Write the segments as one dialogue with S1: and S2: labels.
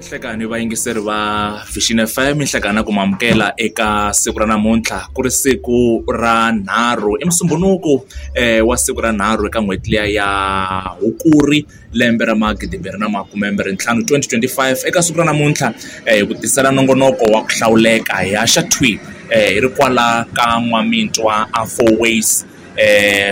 S1: Nhlekani vayingiseri va Vision FM nhlekani na ku mi amukela eka siku ra namuntlha ku ri siku ra nharhu i musumbhunuku wa siku ra nharhu eka n'hweti liya ya Hukuri lembe ra magidimbirhi na makumembirhi ntlhanu 2025 eka siku ra namuntlha hi ku tisela nongonoko wa ku hlawuleka hi haxa thwi hi ri kwala ka N'wamitwa a Four Ways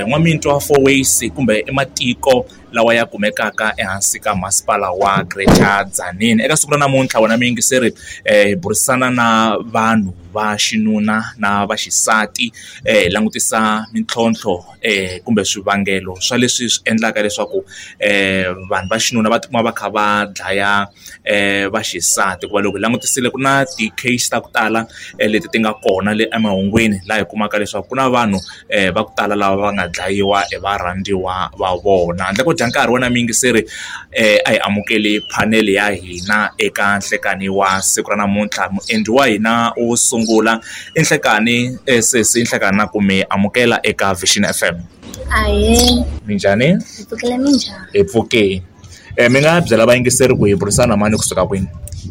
S1: N'wamitwa Four Ways kumbe i matiko lawa ya kumekaka ehansi ka masipala wa Greater Tzaneen. Eka siku ra namuntlha wena muyingiseri hi burisana na vanhu va xinuna na va xisati hi langutisa mintlhontlho kumbe swivangelo swa leswi swi endlaka leswaku vanhu va xinuna va tikuma va kha va dlaya va xisati hikuva loko hi langutisile ku na ti-case ta ku tala leti ti nga kona le emahungwini laha hi kumaka leswaku ku na vanhu va ku tala lava va nga dlayiwa hi varhandziwa va vona handle ko dya nkarhi wena muyingiseri a hi amukeli phanele ya hina eka nhlekani wa siku ra namuntlha muendli wa hina wo sungula i nhlekani sesi nhlekani na ku mi amukela eka Vision F_M.
S2: Ahee.
S1: Minjhani?
S2: Hi pfukile minjhani?
S1: Hi pfukile. Mi nga byela vayingiseri ku hi burisana na mani kusuka kwini?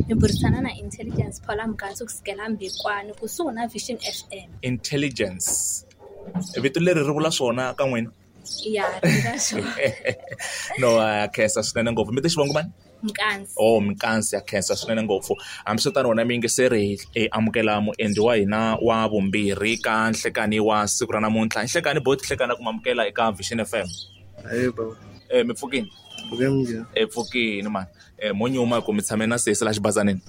S2: Hi burisana na Intelligence Paula Mugantsi kusukela Mbekwana kusuhi na Vision F_M.
S1: Intelligence vito leri ri vula swona ka n'wina?
S2: Ya ri vula swona.
S1: No ha khensa swinene ngopfu mi te xivongo mani?
S2: Mkansi.
S1: Oh Mkansi ha khensa swinene ngopfu hambiswiritano wena muyingiseri hi amukela muendli wa hina wa vumbirhi ka nhlekani wa siku ra namuntlha nhlekani boti nhlekani ku amukela eka Vision F_M.
S3: Ahee bava.
S1: Mi pfukini?
S3: Pfuke minjhani?
S1: Hi pfukini mani. Mo nyuma hi ku mi tshame na sesi la xibazanini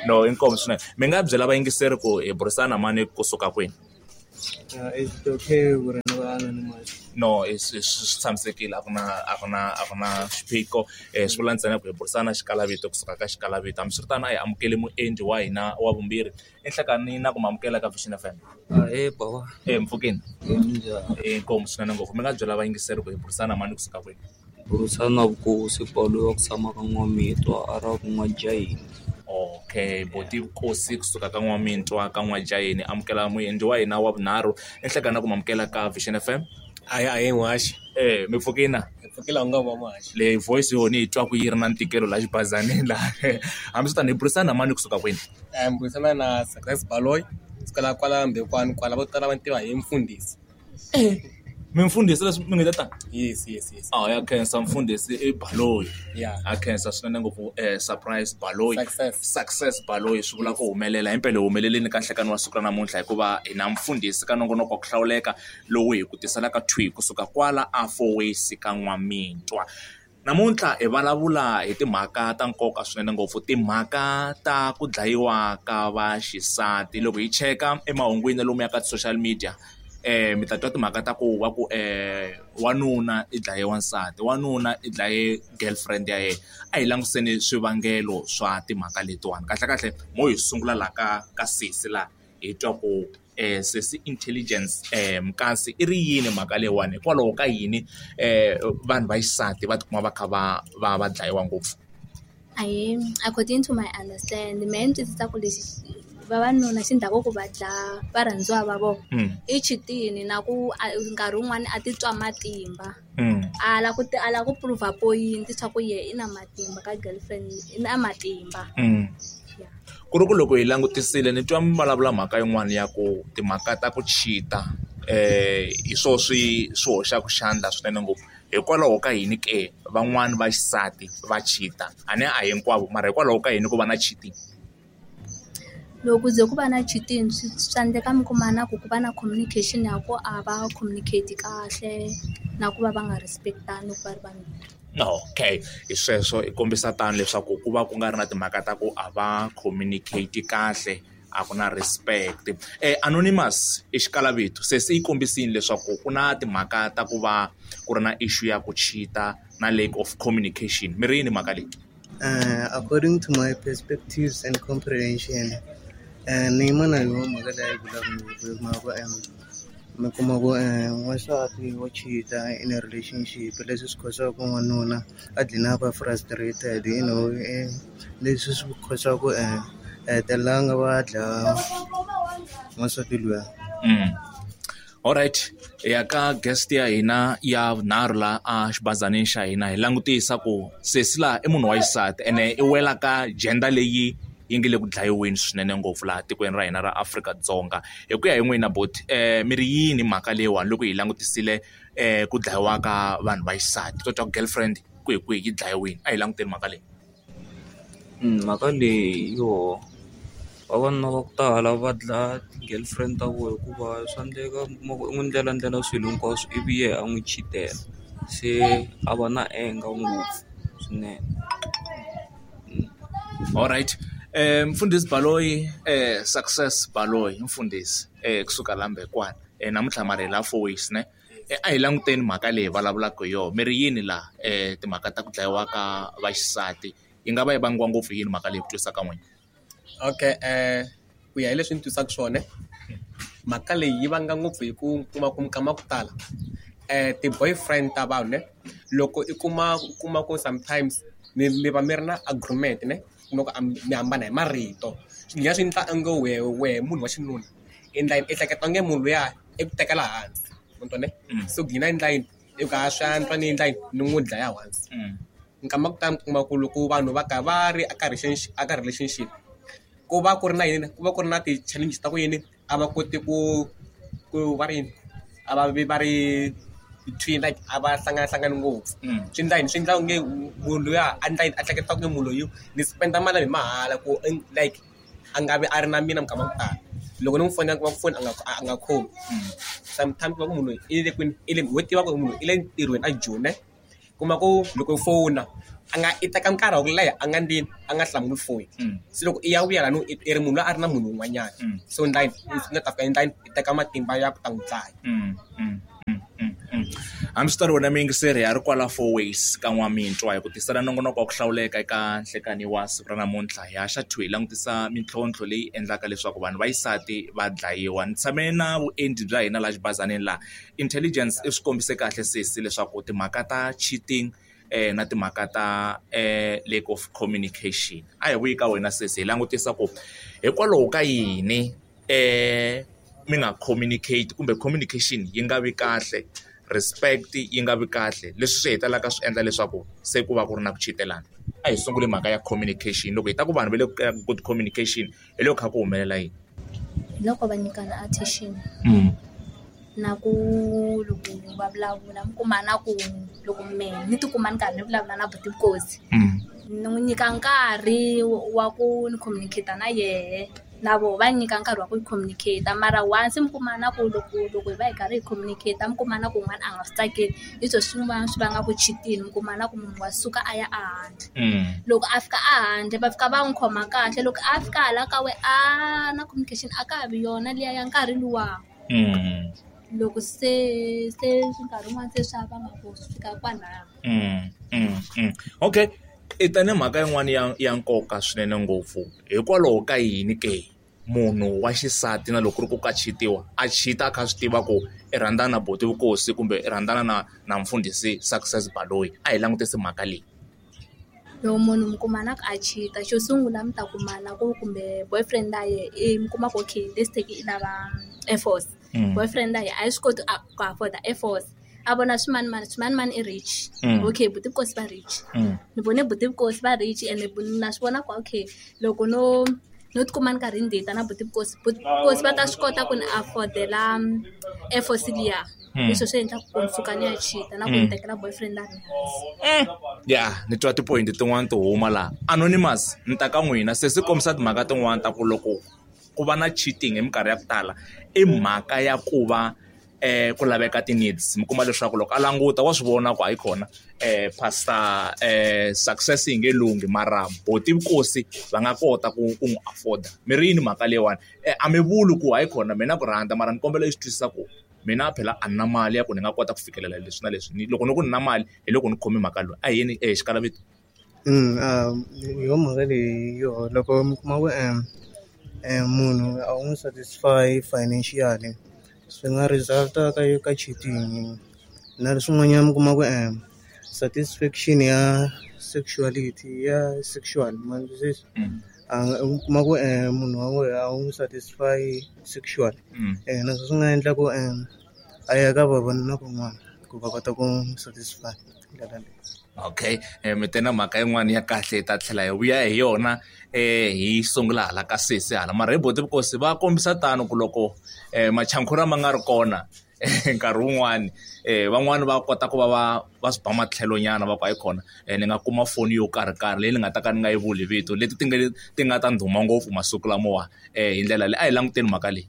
S1: no inkomu swinene mi nga byela vayingiseri ku hi burisana na mani kusuka kwini?
S3: It's okay ku ri ni va anonymous.
S1: No swi tshamisekile a ku na a ku na a ku na xiphiqo swi vula ntsena ku hi burisana xikalavito kusuka ka xikalavito hambiswiritano a hi amukeli muendli wa hina wa vumbirhi enhlekani na ku mi amukela ka Vision F_M.
S4: Ahee bava.
S1: Mpfukini?
S4: Minjhani?
S1: Inkomu swinene ngopfu mi nga byela vayingiseri ku hi burisana na mani kusuka kwini?
S4: Burisana na Vukosi Paul wa ku tshama ka N'wamitwa a ra ku N'wajaheni.
S1: Okay boti Vukosi kusuka ka N'wamitwa ka N'wajaheni amukela muendli wa hina wa vunharhu enhlekani na ku mi amukela ka Vision F_M.
S5: Ahee ahee n'waxi.
S1: Mi pfukini na?
S5: Hi pfukile a wu nga va muhaxi.
S1: Leyi voice yona hi twaku yi ri na ntikelo laha xibazanini laha hambiswiritano hi burisana na mani kusuka kwini?
S5: Mi burisana na Success Baloyi sukela kwala Mbekwana kwala vo tala va ni tiva hi mfundhisi.
S1: Mi mfundhisi leswi mi nge ta?
S5: Yes yes yes.
S1: Ah ya khensa mfundhisi i Baloyi.
S5: Yeah.
S1: Ha khensa swinene ngopfu Surprise Baloyi.
S5: Success.
S1: Success Baloyi swi vula ku humelela himpela hi humelelini ka nhlekani wa siku ra namuntlha hikuva hi na mfundhisi ka nongonoko wa ku hlawuleka lowu hi ku tiselaka thwi kusuka kwala a Four Ways ka N'wamitwa. Namuntlha hi vulavula hi timhaka ta nkoka swinene ngopfu timhaka ta ku dlayiwa ka vaxisati loko hi cheka emahungwini lomu ya ka ti-social media mi ta twa timhaka ta ku va ku wanuna i dlaye wansati wanuna i dlaye girlfriend ya yena a hi langutiseni swivangelo swa timhaka letiwani kahlekahle mo hi sungula la ka ka sesi laha hi twa ku sesi Intelligence Mkansi i ri yini mhaka leyiwani hikwalaho ka yini vanhu va xisati va tikuma va kha va va va dlayiwa ngopfu?
S2: Ahee according to my understand mehe ni twisisa ku lexi vavanuna xi ndhaku ku va dlaya varhandziwa va vona i chitini na ku nkarhi wun'wani a titwa matimba a la ku a la ku prove point swa ku yehe i na matimba ka girlfriend i na matimba.
S1: Ku ri ku loko hi langutisile ni twa mi vulavula mhaka yin'wani ya ku timhaka ta ku cheat-a hi swona swi swi hoxaka xandla swinene ngopfu hikwalaho ka yini ke van'wani va xisati va cheat-a a ni a hinkwavo mara hikwalaho ka yini ku va na cheating?
S2: Loko ku ze ku va na cheating swi swa endleka mi kuma na ku ku va na communication ya ku a va communicate kahle na ku va va nga respect-ani loko va ri vambirhi.
S1: Okay hi sweswo i kombisa tano leswaku ku va ku nga ri na timhaka ta ku a va communicate kahle a ku na respect anonymous i xikalavito se se yi kombisile leswaku ku na timhaka ta ku va ku ri na issue ya ku cheat-a na lack of communication mi ri yini mhaka leyi?
S3: According to my perspectives and comprehension ni yima na yona mhaka leyi a yi vulaka ngopfu hi mhaka ku mi kuma ku n'wansati wa cheat-a in a relationship leswi swi cause-aka ku n'wanuna a dlina a va frustrated you know leswi swi cause-aka ku a hetelela a nga va a dlaya n'wansati luya.
S1: Alright, hi ya ka guest ya hina ya vunharhu la a xibazanini xa hina hi langutisa ku sesi laha i munhu wa xisati ene i wela ka gender leyi yi nge le ku dlayiweni swinene ngopfu laha tikweni ra hina ra Afrika-Dzonga. Hi ku ya hi n'wina buti mi ri yini mhaka leyiwani loko hi langutisile ku dlayiwa ka vanhu va xisati to twa ku girlfriend kwihi kwihi yi dlayiwile a hi languteni mhaka leyi.
S4: Mhaka leyi yoho vavanuna va ku tala va dlaya ti-girlfriend ta vona hikuva swa endleka mi kuma ku u n'wi ndlela ndlela swilo hinkwaswo ivi yena a n'wi cheat-ela. Se a va na anger ngopfu swinene.
S1: Alright mfundhisi Baloyi Success Baloyi mfundhisi kusuka la Mbekwana namuntlha mara hi la Fourways ne a hi languteni mhaka leyi hi vulavulaka hi yona mi ri yini laha timhaka ta ku dlayiwa ka vaxisati yi nga va yi vangiwa ngopfu hi yini mhaka leyi ku twisisa ka n'wina?
S5: Okay ku ya hi leswi ni twisaka swona mhaka leyi yi vanga ngopfu hi ku kuma ku minkama ya ku tala ti-boyfriend ta vanhu ne loko i kuma u kuma ku sometimes mi mi va mi ri na agreement ne u kuma ku a mi hambana hi marito swi dlina swi endla onge wehe wehe munhu wa xinuna i endla yini i hleketa onge munhu luya i ku tekela hansi ma ni twa ne se u gcina endla yini i ku a swi antswa ni endla yini ni n'wi dlaya once nkama wa ku tala mi kuma ku loko vanhu va ka va ri aka aka relationship ku va ku ri na yini ku va ku ri na ti-challenges ta ku yini a va koti ku ku va ri yini a va vi va ri between like a va hlanganahlangani ngopfu swi endla yini swi endla onge munhu luya a endla yini a hleketa ku munhu loyi ni spend mali hi mahala ku like a nga vi a ri na mina minkama ya ku tala loko ni n'wi fonela ku va ku foni a nga a nga khomi sometimes ku va ku munhu loyi i le kwini i le ho tiva ku munhu i le ntirhweni a Joni ne kuma ku loko u fona a nga i teka nkarhi wa ku leha a nga ndlini a nga hlamuli foni se loko i ya vuya lani i ri munhu loyi a ri na munhu un'wanyana se u endla yini u nga ta fika endla yini i teka matimba ya ku ta n'wi dlaya.
S1: Hambiswiritano wena muyingiseri ha ri kwala Fourways ka N'wamitwa hi ku tisela nongonoko wa ku hlawuleka eka nhlekani wa siku ra namuntlha hi haxa two hi langutisa mintlhontlho leyi endlaka leswaku vanhu va xisati va dlayiwa. Ni tshame na vuendli bya hina laha xibazanini laha intelligence i swi kombise kahle sesi leswaku timhaka ta cheating na timhaka ta lack of communication. A hi vuyi ka wena sesi hi langutisa ku hikwalaho ka yini mi nga communicate kumbe communication yi nga vi kahle respect yi nga vi kahle leswi swi hetelelaka swi endla leswaku se ku va ku ri na ku cheat-elana. A hi sunguli mhaka ya communication loko hi ta ku vanhu va le ka good communication hi loko kha ku humelela yini?
S2: Hi loko va nyikana attention na ku loko va vulavula mi kuma na ku loko mehe ni tikuma ni karhi ni vulavula na buti Nkosi ni n'wi nyika nkarhi wa ku ni communicate na yehe na voho va nyika nkarhi wa ku communicate mara once mi kuma na ku loko loko hi va hi karhi hi communicate mi kuma na ku un'wana a nga swi tsakeli hi swo swin'wana swi vangaka cheating mi kuma na ku munhu wa suka a ya ehandle loko a fika ehandle va fika va n'wi khoma kahle loko a fika hala ka we a na communication a ka ha vi yona liya ya nkarhi luwa loko se se nkarhi wun'wani se swa vanga ku swi fika kwalano.
S1: Okay i ta ni mhaka yin'wani ya ya nkoka swinene ngopfu hikwalaho ka yini ke munhu wa xisati na loko ku ri ku ka cheat-iwa a cheat-a a kha a swi tiva ku i rhandzana na buti Vukosi kumbe i rhandzana na na mfundhisi Success Baloyi a hi langutisi mhaka leyi.
S2: Loko munhu mi kuma na ku a cheat-a xo sungula mi ta kuma na ku kumbe boyfriend ya yena i mi kuma ku okay let's take i lava Air Force boyfriend ya yena a yi swi koti ku afford-a Air Force a vona swimanimani swimanimani i rich okay buti Nkosi va rich ni vone buti Nkosi va rich ene na swi vona ku okay loko no no tikuma ni karhi ni date na buti Nkosi buti Nkosi va ta swi kota ku ni afford-ela Air Force liya hi swona swi endlaka ku ni suka ni ya cheat-a na ku ni tekela boyfriend ya mina hansi.
S1: Ya ni twa ti-point tin'wani ti huma laha anonymous ni ta ka n'wina se swi kombisa timhaka tin'wani ta ku loko ku va na cheating hi minkarhi ya ku tala i mhaka ya ku va ku laveka ti-needs mi kuma leswaku loko a languta wa swi vona ku hayi khona pastor success yi nge lunghi mara buti Nkosi va nga kota ku ku n'wi afford-a mi ri yini mhaka leyiwani a mi vuli ku hayi khona mina ku rhandza mara ni kombela i swi twisisa ku mina phela a ni na mali ya ku ni nga kota ku fikelela leswi na leswi loko ni ku ni na mali hi loko ni khome mhaka loyi a hi yeni xikalavito.
S3: Hi yo mhaka leyi yo loko mi kuma ku munhu a wu n'wi satisfy financially swi nga result-a ka ka cheating na swin'wanyana mi kuma ku satisfaction ya sexuality ya sexual ma ni twisisa a nga u kuma ku munhu wa wena a wu n'wi satisfy sexual naswo swi nga endla ku. A ya ka vavanuna van'wana ku va kota ku n'wi satisfy hi ndlela leyi.
S1: Okay mi te na mhaka yin'wani ya kahle hi ta tlhela hi vuya hi yona hi sungula hala ka sesi hala mara hi boti Vukosi va kombisa tano ku loko machankhura ma nga ri kona nkarhi wun'wani van'wani va kota ku va va va swi ba matlhelo nyana va ku hayikhona ni nga kuma foni yo karhi karhi leyi ni nga ta ka ni nga yi vuli vito leti ti nga ti nga ta ndhuma ngopfu masiku lamawa hi ndlela leyi a hi languteni mhaka leyi.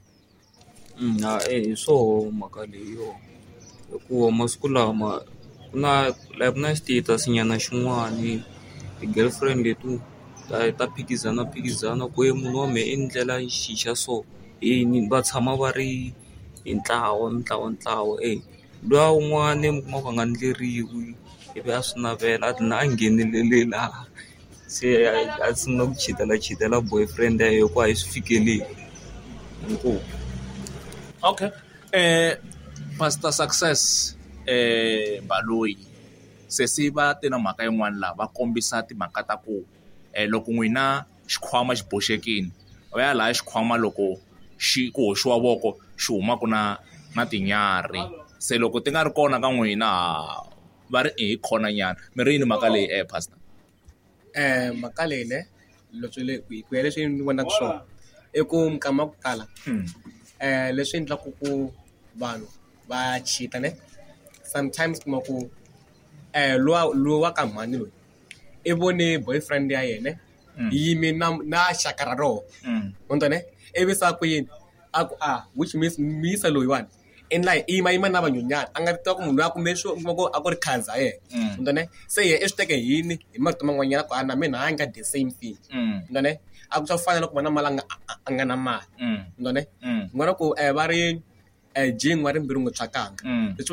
S4: Hi swoho mhaka leyiwa hikuva masiku lama ku na like ku na status nyana xin'wani ti-girlfriend leti ta ta phikizana phikizana ku he munhu wa mehe i ni ndlela xi xa so yini va tshama va ri hi ntlawa mintlawantlawa e. Luya wun'wani mi kuma ku a nga ndleriwi ivi a swi navela a dlina a nghenelelela se a sungula ku cheat-ela cheat-ela boyfriend ya yena hi ku a yi swi fikeleli inkomu.
S1: Okay pastor Success Baloyi sesi va te na mhaka yin'wana laha va kombisa timhaka ta ku loko n'wina xikhwama xi boxekile va ya laya xikhwama loko xi ku hoxiwa voko xi humaka na na tinyarhi se loko ti nga ri kona ka n'wina va ri i hi khona nyana mi ri yini mhaka leyi pastor.
S5: Mhaka leyi ne hi ku ya leswi ni vonaka swona i ku minkama ya ku tala leswi endlaka ku vanhu va cheat-a ne sometimes u kuma ku luwa lowa ka mhani loyi i vone boyfriend ya yena yi yime na na xaka ra rona ma ni twa ne ivi se a ku yini a ku a which means muyisa loyiwani i ndla i yimayima na vanhwanyana a nga tiva ku munhu loyi a kume swo kuma ku a ku ri khaza yena mm. ne se yena i swi teke hi yini hi marito man'wanyana ku a na mina a nga the same thing mm. ne a ku swa fana na ku va na mali a nga a nga na mali mm. ne ngona ku va ri jingwa ri mbilu n'wi tswakanga leswi.